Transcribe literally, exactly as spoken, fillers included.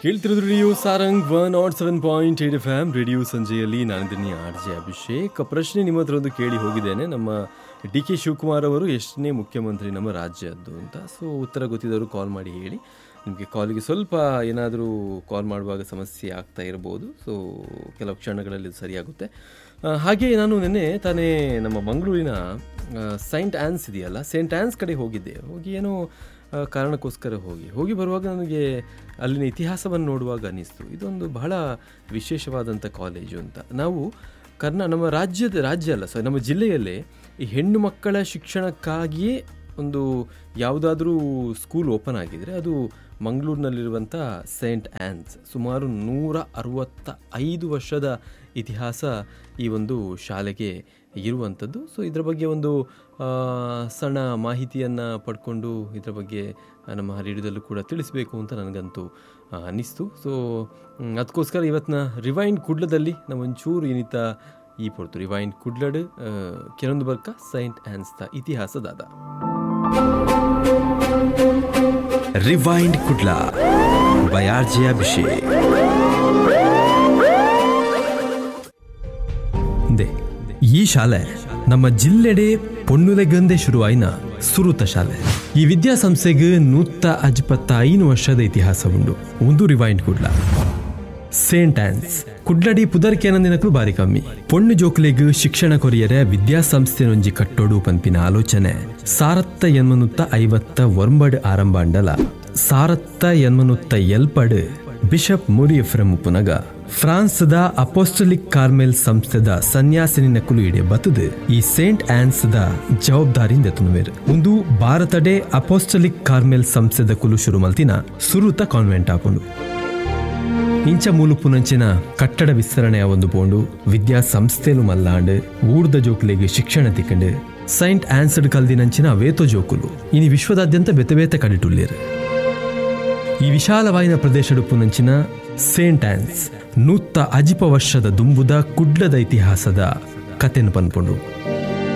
ಕೇಳ್ತಿರೋದು radio Sarang one nought seven point eight F M radio ಸಂಜೆಯಲ್ಲಿ ನಾನಿದ್ದೀನಿ ಆರ್ J Abhishek. ಪ್ರಶ್ನೆ ನಿಮ್ಮ ಹತ್ರ ಒಂದು ಕೇಳಿ ಹೋಗಿದ್ದೇನೆ, ನಮ್ಮ ಡಿ ಕೆ ಶಿವಕುಮಾರ್ ಅವರು ಎಷ್ಟನೇ ಮುಖ್ಯಮಂತ್ರಿ ನಮ್ಮ ರಾಜ್ಯದ್ದು ಅಂತ. ಸೊ ಉತ್ತರ ಗೊತ್ತಿದ್ದವರು ಕಾಲ್ ಮಾಡಿ ಹೇಳಿ. ನಿಮಗೆ ಕಾಲಿಗೆ ಸ್ವಲ್ಪ ಏನಾದರೂ ಕಾಲ್ ಮಾಡುವಾಗ ಸಮಸ್ಯೆ ಆಗ್ತಾ ಇರ್ಬೋದು, ಸೊ ಕೆಲವು ಕ್ಷಣಗಳಲ್ಲಿ ಇದು ಸರಿಯಾಗುತ್ತೆ. ಹಾಗೆಯೇ ನಾನು ನಿನ್ನೆ ತಾನೇ ನಮ್ಮ ಮಂಗಳೂರಿನ ಸೈಂಟ್ ಆ್ಯನ್ಸ್ ಇದೆಯಲ್ಲ, ಸೈಂಟ್ ಆ್ಯನ್ಸ್ ಕಡೆ ಹೋಗಿದ್ದೆ. ಹೋಗಿ ಏನೋ ಕಾರಣಕ್ಕೋಸ್ಕರ ಹೋಗಿ ಹೋಗಿ ಬರುವಾಗ ನನಗೆ ಅಲ್ಲಿನ ಇತಿಹಾಸವನ್ನು ನೋಡುವಾಗ ಅನ್ನಿಸ್ತು, ಇದೊಂದು ಬಹಳ ವಿಶೇಷವಾದಂಥ ಕಾಲೇಜು ಅಂತ. ನಾವು ಕರ್ನಾ ನಮ್ಮ ರಾಜ್ಯದ ರಾಜ್ಯ ಅಲ್ಲ ಸಾರಿ ನಮ್ಮ ಜಿಲ್ಲೆಯಲ್ಲೇ ಈ ಹೆಣ್ಣು ಮಕ್ಕಳ ಶಿಕ್ಷಣಕ್ಕಾಗಿಯೇ ಒಂದು ಯಾವುದಾದ್ರೂ ಸ್ಕೂಲ್ ಓಪನ್ ಆಗಿದರೆ ಅದು ಮಂಗಳೂರಿನಲ್ಲಿರುವಂಥ ಸೈಂಟ್ ಆ್ಯನ್ಸ್. ಸುಮಾರು ನೂರ ಅರವತ್ತ ಐದು ವರ್ಷದ ಇತಿಹಾಸ ಈ ಒಂದು ಶಾಲೆಗೆ ಇರುವಂಥದ್ದು. ಸೊ ಇದರ ಬಗ್ಗೆ ಒಂದು ಸಣ್ಣ ಮಾಹಿತಿಯನ್ನು ಪಡ್ಕೊಂಡು ಇದರ ಬಗ್ಗೆ ನಮ್ಮ ರೇಡಿಯೋದಲ್ಲೂ ಕೂಡ ತಿಳಿಸಬೇಕು ಅಂತ ನನಗಂತೂ ಅನ್ನಿಸ್ತು. ಸೊ ಅದಕ್ಕೋಸ್ಕರ ಇವತ್ತಿನ ರಿವೈಂಡ್ ಕುಡ್ಲದಲ್ಲಿ ನಾವೊಂಚೂರು ಏನಿತ್ತ ಈ ಪೊರ್ತು ರಿವೈಂಡ್ ಕುಡ್ಲಡ್ ಕೆಲವೊಂದು ಬರ್ಕ Saint ಆ್ಯನ್ಸ್ತ ಇತಿಹಾಸದಾದ rewind Kudla by R J Abhishek. ಈ ಶಾಲೆ ನಮ್ಮ ಜಿಲ್ಲೆಡೆ ಪೊಣ್ಣುಲೆಗಂದೆ ಶುರುವಾಯಿನ ಸುರುತ ಶಾಲೆ. ಈ ವಿದ್ಯಾಸಂಸ್ಥೆಗೆ ನೂತ್ತ ಅಜ್ಪತ್ತ ಐನು ವರ್ಷದ ಇತಿಹಾಸ ಉಂಡು. ಒಂದು ರಿವೈಂಡ್ ಕುಡ್ಲ ಸೇಂಟ್ ಆನ್ಸ್ ಕುಡ್ಲಡಿ ಪುದರ್ಕೇನಂದಿನಕ್ಲು ಬಾರಿ ಕಮ್ಮಿ. ಪೊಣ್ಣು ಜೋಕ್ಲೆಗ್ ಶಿಕ್ಷಣ ಕೊರಿಯರೆ ವಿದ್ಯಾಸಂಸ್ಥೆನೊಂಜಿ ಕಟ್ಟೋಡು ಪಂಪಿನ ಆಲೋಚನೆ ಸಾರತ್ತ ಎನ್ಮನುತ್ತ ಐವತ್ತ ಒಂಬಡ್ ಆರಂಭ ಅಂಡಲ ಸಾರತ್ತ ಎನ್ಮನುತ್ತ ಎಲ್ಪಡ್ ಬಿಷಪ್ ಮುರಿ ಎಫ್ರೆಮ್ ಉಪ್ಪುನಗ ಫ್ರಾನ್ಸ್ದ ಅಪೋಸ್ಟಲಿಕ್ ಕಾರ್ಮೆಲ್ ಸಂಸ್ಥೆದ ಸನ್ಯಾಸಿನಿ ನಕುಲು ಇಡೆ ಬತ್ತದು ಈ ಸೇಂಟ್ ಆನ್ಸ್ದ ಜವಾಬ್ದಾರಿಯಿಂದ ತುನುವೇರು. ಒಂದು ಭಾರತಡೆ ಅಪೋಸ್ಟಲಿಕ್ ಕಾರ್ಮೆಲ್ ಸಂಸ್ಥೆದ ಕುಲು ಶುರು ಮಲ್ತಿನ ಸುರುತ ಕಾನ್ವೆಂಟ್ ಆಪುಂಡು. ಇಂಚ ಮೂಲುಪುನಂಚಿನ ಕಟ್ಟಡ ವಿಸ್ತರಣೆಯ ಒಂದು ಪೋಂಡು ವಿದ್ಯಾಸಂಸ್ಥೆಲು ಮಲ್ಲಾಂಡ್ ಊರ್ದ ಜೋಕುಲೆಗೆ ಶಿಕ್ಷಣ ತಿಕ್ಕಂಡು ಸೈಂಟ್ ಆನ್ಸ್ಡ್ ಕಲ್ದಿನಂಚಿನ ವೇತೋ ಜೋಕುಲು ಇನಿ ವಿಶ್ವದಾದ್ಯಂತ ಬೆತೆ ಬೇತೆ ಕಡಿಟುಲ್ಲೇರು. ಈ ವಿಶಾಲವಾಯಿನ ಪ್ರದೇಶಡುಪುನಂಚಿನ ಸೇಂಟ್ ಆನ್ಸ್ ನೂತ್ತ ಅಜಿಪ ವರ್ಷದ ದುಂಬುದ ಕುಡ್ಲದ ಇತಿಹಾಸದ ಕತೆನು ಪನ್ಪುಂಡು.